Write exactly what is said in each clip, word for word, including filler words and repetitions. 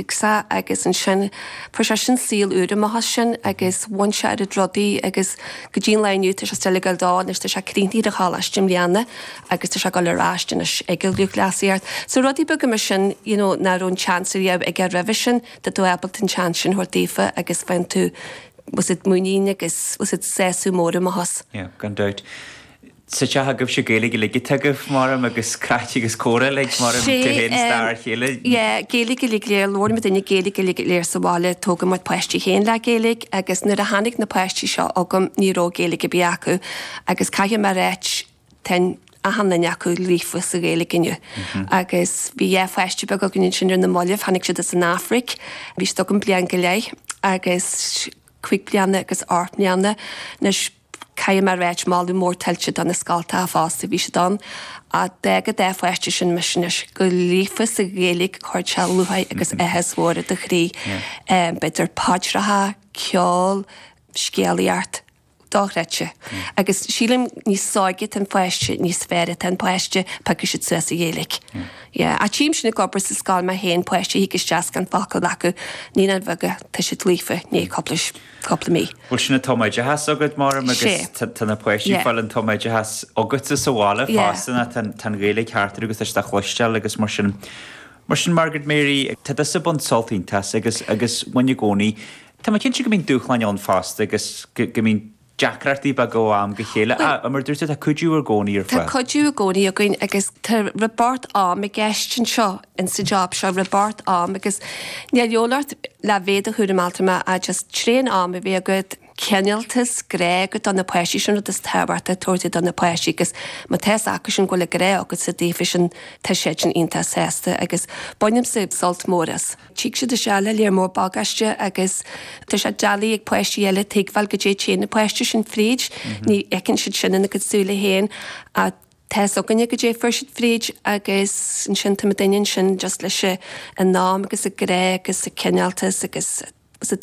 sé agus ansin fuair sé sin saol úr amach as sin agus bhain sé ar rudaí agus go dtí an lá inniu tá sé still ag dul dó anois tá sé críochnaithe ar choláiste i mbliana agus tá sé ag dul ar ais anois ag an lúthchleasaíocht. So rudaí beaga mar sin you know, nach raibh an chance riamh aige roimhe sin tá tú ábalta an chance sin a thabhairt daofa agus faigheann tú was it muinín agus was it sásamh mór amach as. Yeah, gan dabht. Sa teach agaibhse Gaeilge uilig agaibh maram agus craic agus comhrá le mar stair chéile. Yeah, Gaeilge uilig léir labhair muid duine Gaeilge uilig léir sa bhaile tógadh muid páistí féin le Gaeilge agus nuair a tháinig na páistí seo agam ní raibh Gaeilge ar bith acu agus caithfidh mé a ráit tá achan duine acu líofa sa Ghaeilge inniu. Agus bhí dhá pháiste beag againn sin ar na mallaibh, tháinig siad as an Afraic, bhí siad agam bliain go leith agus cúig bliana agus ocht mbliana anois caithfidh mé a ráit moladh mór tuillte do na scoltacha fosta bhí siad ann a d'fhág dá pháiste sin mise anois go líofa sa Ghaeilge chuir sé lúcháir agus áthas mhór i do chroí. B'fhéidir paidreacha, ceol, scéalaíocht, dochreidte. Agus sílim níos óige atá an pháiste níos fearr atá an páiste piocfaidh siad suas an Ghaeilge. Yeah, a tchím sin ag obair sa scoil mé féin páistí thig isteach gan focal acu naíonáin bheaga tá siad líofa ní cúpla cúpla mí. Bhuel sin an tumoideachas agat maram agus tá na páistí ag fáil an tumoideachas agatsa sa bhaile fosta tá an Ghaeilge thart agus tá sé chloisteáil agus mar sin. Mar sin Margaret Mary tá tusa ag baint sult iontach agus agus bhain i gcónaí. Tá mé cinnte go mbíonn dúshláin ann fosta agus go mbíonn deacrachtaí beaga ó am go chéile mar dúirt tá cuidiú i gcónaí ar Tá cuidiú i gcónaí againn agus tá rabort am i gceist anseo in sa job seo rabort am agus ní leolart le bhéad a chuúra altrama a just tréan am a bhí agat cineáltas grá agat do na páistí sin rud is tábhachtaí tabhairt do na páistí agus má tá acu sin go bhfuil grá agat sa daofa sin tá siad sin iontach sásta agus bainimse sult mór as. Tig siad isteach le léar mór bagáiste agus tá sé doiligh ag páistí eile tuigbheáil goidé téann na páistí sin fríd, ní fheiceann siad sin ina gcuid súile féin a tá againne goidé fuair siad fríd agus ansin tá duine sin just leis an am agus a grá agus a cineáltas agus sa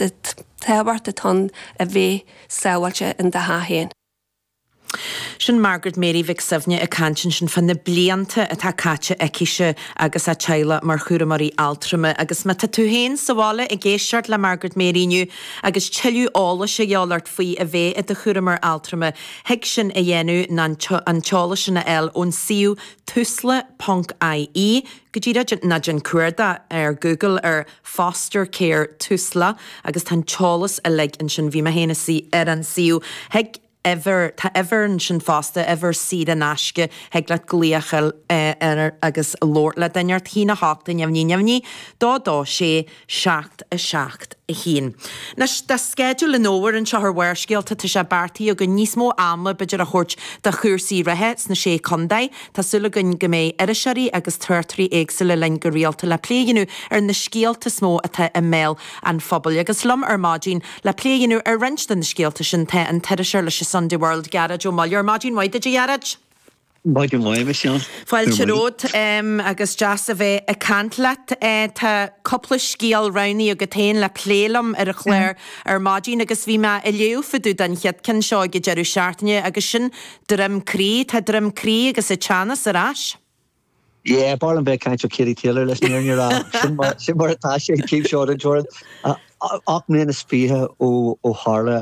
tábhacht atá a bheith sábháilte in do theach féin. Sin Margaret Mary Mhic Suibhne ag caint ansin fá na blianta atá caite aicise agus a teaghlach mar chúramóirí altrama agus má tá tú féin sa bhaile ag éisteacht le Margaret Mary inniu agus tuilleadh eolais a dhíobháil ort faoi a bheith i do chúramóir altrama, thig sin a dhéanamh ná an t-eolas sin a fháil ón suíomh tusla.ie go dtí ná déan cuardach ar Google ar Foster Care Tusla agus tá an t-eolas uilig ansin bhí mé féin ar an suíomh. Thig uimhir tá uimhir ansin fosta uimhir saor in aisce thig leat glaoch ar agus labhairt le duine ort haon a hocht neamhní neamhní dó dó sé seacht a seacht a haon. Anois tá sceideal an fhómhair anseo ar Bharrscéalta tá sé beartaithe againn níos mó ama b'fhéidir a thabhairt do chúrsaí reatha sna sé contae. Tá súil againn go mbeidh iriseoirí agus tráchtairí éagsúla linn go rialta le plé a dhéanamh ar na scéalta is mó atá i mbéal an phobail. Agus liom ar maidin le plé a dhéanamh ar roinnt de na scéalta sin tá an t-iriseoir leis an Sunday World Gearóid Ó Muilleoir. Maidin mhaith duit a Ghearóid. Maidin mhaith Michelle. Fáilte romhat um, agus deas a bheith ag caint leat uh, tá cúpla scéal roghnaithe agat féin le plé liom ar an chlár ar maidin agus bhí mé ag léamh fá dtaobh den chéad cheann seo ag deireadh seachtaine agus sin Droim Crí tá Droim Crí agus a teannas ar ais. Yeah, bar an bheith caint Katie Taylor leis an fhírinne a rá sin mar sin mar atá sé taobh seo den teorainn. Ocht mbliana is fiche ó ó tharla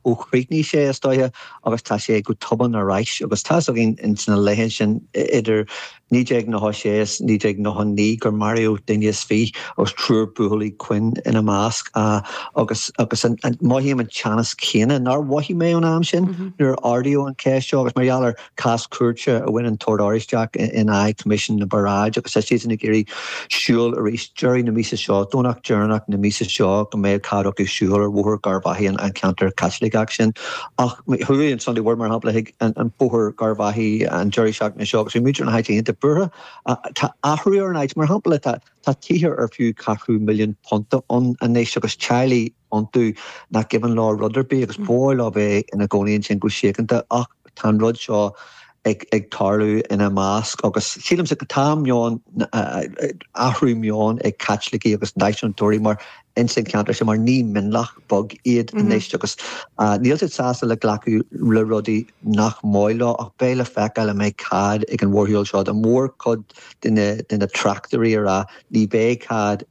ó chríochnaigh sé is dóiche agus tá sé go tobann arís agus tá againn in sna laethe sin idir naoi déag nócha sé is naoi déag nócha naoi gur maraíodh duine is fiche agus triúr buachaillí Quinn ina measc agus agus an mothaím an teannas céanna nár mhothaigh mé an am sin nuair ardaíodh an cheist seo agus mar gheall ar cás cúirte a bhain an tOrd Oráisteach in aghaidh Coimisiún na bParáidí agus tá siad ag iarraidh siúl arís deireadh na míosa seo Domhnach deireanach na míosa seo go mbeidh cead acu siúl ar Bhóthar Gharbhachaidh an ceantar Caitliceach sin ach chuaigh an Sunday World mar shampla chuig an Bóthar Gharbhachaidh an deireadh seachtaine seo agus bhí muintir na háite iontach buartha tá athrú ar an áit mar shampla tá tá tithe ar fiú ceathrú milliún punt ann anois agus teaghlaigh iontu nach gcuimhin leo rud ar bith agus ba mhaith leo bheith ina gcónaí ansin go síochánta ach tá an rud seo ag ag tarlú ina measc agus sílimse go tá meon athrú meon ag Caitlicigh agus náisiúntóirí mar in san ceantar sin mar ní mionlach beag iad anois agus níl siad sásta le glacadh le rudaí nach maith leo ach beidh le feiceáil an mbeidh cead ag an mhórshiúl seo an mhórchuid de na de na tráchtairí a rá ní bheidh cead